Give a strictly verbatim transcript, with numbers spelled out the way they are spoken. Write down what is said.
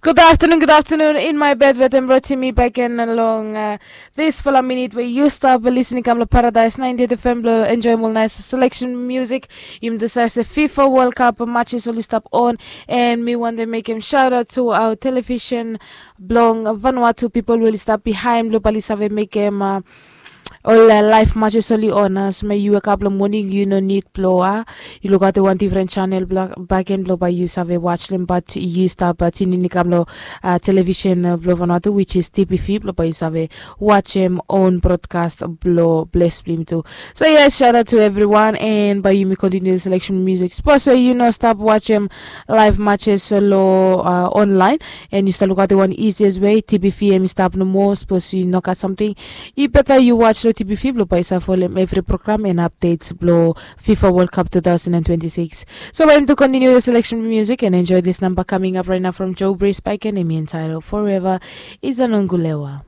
Good afternoon, good afternoon in my bed wetem Rotimi back in long uh, this fala minute where you stop listening kam lo Paradise ninety-eight F M lo enjoy mol nice selection music. Yum the size of FIFA World Cup matches oli stop on and mi want to make him shout out to our television blong Vanuatu people will stop behind lo bali save make him uh, Ol laef matches oli on as me yu wekap long moning yu no nid blo a yu lukaotem wan difren chanel baken blo bae yu save waj dem bat yu stap tiunin i kam long televisen blo Vanuatu, which is T P V, blo bae yu save wajem own broadcast blo bles blo yumi tu. So yes, shout out to everyone and bae yumi continue the selection music. Suppose yu no stap wajem laef matches lo online and yu stap lukaotem wan easiest way, T P V em i stap nomo. Suppose yu no gat something, i beta yu waj lo T P V blo bae yu save folem evri program and updates blo FIFA World Cup two thousand and twenty-six. So bae yumi tu continue the selection music and enjoy this number coming up right now from Joe Breeze by Kenemi entitled Forever is an Ongulewa.